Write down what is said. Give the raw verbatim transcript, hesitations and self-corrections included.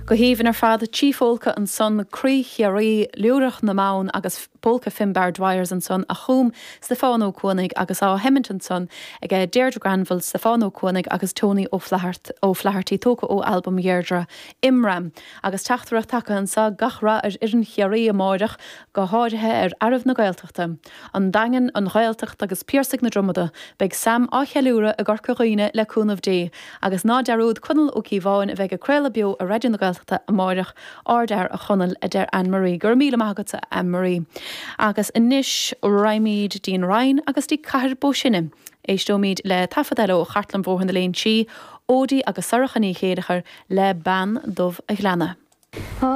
Go haoibhinn ar fad trí phólca ansan Croí Chiarraí Liúrach na mBan agus Polca Finbar Dwyers ansan a chum Stiofán Ó Cuanaigh agus á sheimint ansan ag Deirdre Granville Stiofán Ó Cuanaigh agus Tony Ó Flathartaí tógtha ó albam Dheirdre Imram. Agus teachtaireacht tagtha anseo gach rath ar fhoireann Chiarraí amárach go háirithe ar fhearaibh na Gaeltachta. An Daingean an Ghaeltacht agus Piarsaigh na Dromoda, beidh Sam á cheiliúradh i gCorca Dhuibhne le cúnamh Dé, agus ná dearúd Conall Ó Cíobháin a bheidh ag craoladh beo ar Raidió na Gaeltachta amárach ardfhear a Chonaill a deir Anne-Marie, gur míle maith agatsa Anne-Marie. Agus anois raghaimid dtí an Rinn agus dtí Cathair Bó Sine. Éisteoimid le taifead eile ó Chartlann Bhóthar na Léinsí, Ódí agus Sorcha Ní Chéileachair le Bean Dubh a' Ghleanna. Oh.